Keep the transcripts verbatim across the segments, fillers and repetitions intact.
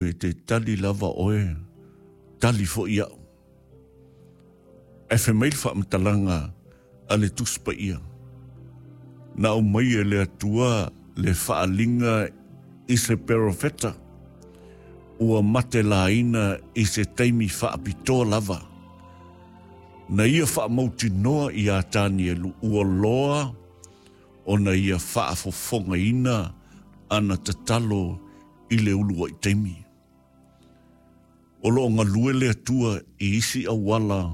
E te tali lava oe, tali foʻi aʻu. Ae fai mai le faamatalaga a le Tusi Paia, na aumai e le Atua le faaaliga i se perofeta ua matelaina i se taimi faapitoa lava. Na ia faamautinoa iā Tanielu ua loa ona ia faafofogaina ana tatalo i le uluai taimi. O loo galue le Atua i isi auala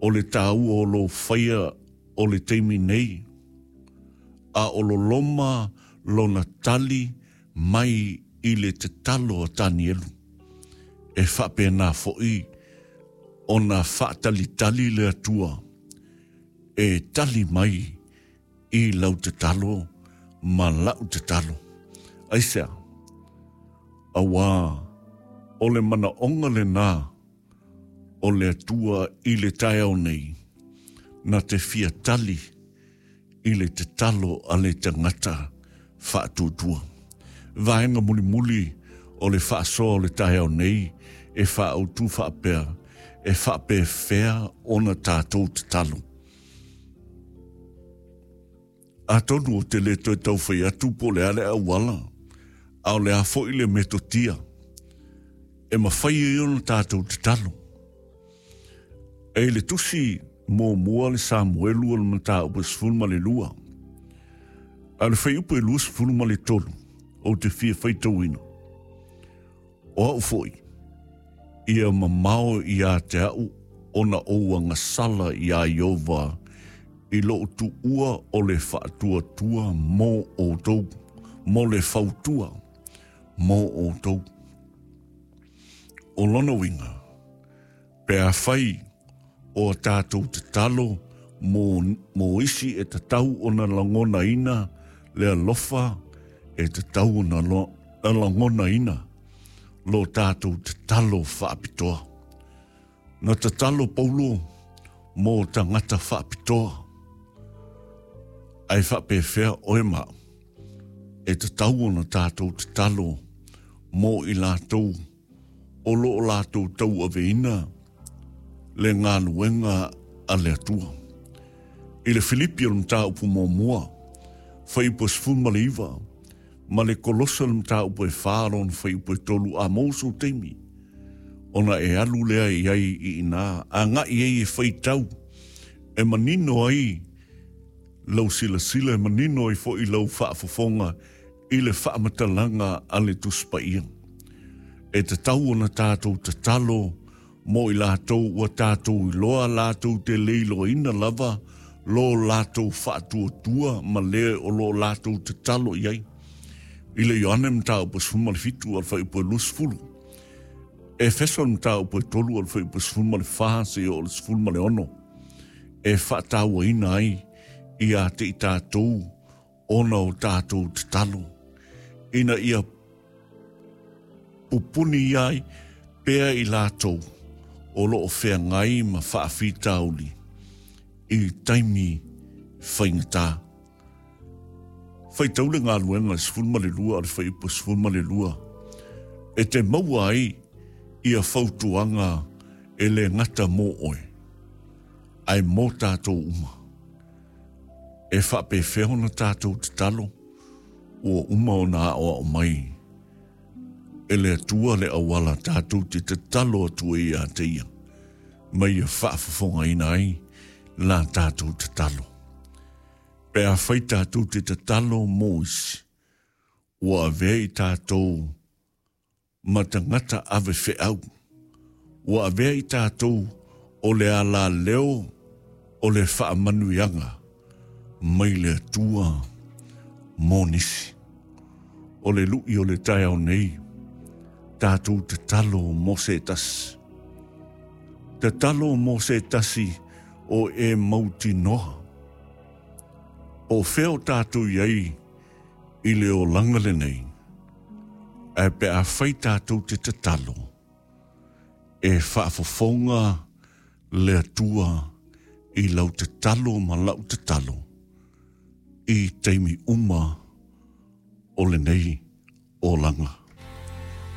o le taua o lou faia o le taimi nei, a o loloma lona tali mai i le tatalo a Tanielu. E faapena foʻi ona faatalitali le Atua e tali mai i lau tatalo ma lau tatalo. Aisea? Auā o le manaoga lenā o le Atua i le taeao nei, na te fia tali i le tatalo a le tagata faatuatua. Vaega mulimuli o le faasoa o le taeao nei e faaautu faapea, e faapefea ona tatou tatalo. Atonu ou te le toe taufai atu po o le a le auala, a o le a foi le metotia e mafai ai ona tatou tatalo. E i le tusi muamua le Samuelu o le mataupu e sefulu ma le lua, a o le fuaiupu e luasefulu ma le tolu, ou te fia faitauina. O au foi, ia mamao ia te au ona ou agasala iā Ieova i lou tuua o le faatuatua mo outou, mo le fautua mo outou. O lona uiga, pe afai o a tatou tatalo mo, mo isi e tatau ona lagonaina le alofa, e tatau ona lo, lagonaina lo tatou tatalo faapitoa. Na tatalo Paulo mo tagata faapitoa. Ae faapefea oe ma au? E tatau ona tatou tatalo mo i latou o lo o latou tauaveina le galuega a le Atua. I le Filipi o le mataupu muamua, fuaiupu e sefulu ma le iva, ma le Kolosa le mataupu e fa lona fuaiupu e tolu, a maua sou taimi, ona e alu lea i ai i inā, agai ai e faitau, e manino ai lau silasila, e manino ai foi lau faafofoga i le faamatalaga a le Tusi Paia. E tatau ona tatou tatalo mo i latou ua tatou iloa latou te le iloaina lava lo latou faatuatua ma le o lo o latou tatalo i ai. I le Ioane mataupu e sefulu ma le fitu a le fuaiupu e luasefulu. Efeso le mataupu e tolu a le fuaiupu e sefulu ma le fa seia oo i le sefulu ma le ono e faatauaina ai ia te i tatou ona o tatou tatalo ina ia pupuni ai pea i latou o lo o feagai ma faafitauli i taimi faigata. Faitau le galuega sefulu ma le lua a le fuaiupu sefulu ma le lua e te maua ai ia fautuaga e le gata mo oe, ae mo tatou uma. E faapefea ona tatou tatalo ua uma ona aoao mai e le Atua le auala tatou te tatalo atu ai ia te ia, ma ia faafofogaina ai la tatou tatalo. Pe afai tatou te tatalo mo isi, ua avea i tatou ma tagata ave feau, ua avea i tatou o le alaleo o le faamanuiaga mai le Atua mo nisi. O le lui o le taeao nei, tatou tatalo mo se tasi. Tatalo mo se tasi o e mautinoa. Po o fea o tatou i ai i le olaga lenei, ae pe afai tatou te tatalo, e faafofoga le Atua i lau tatalo ma lau tatalo i taimi uma o lenei olaga.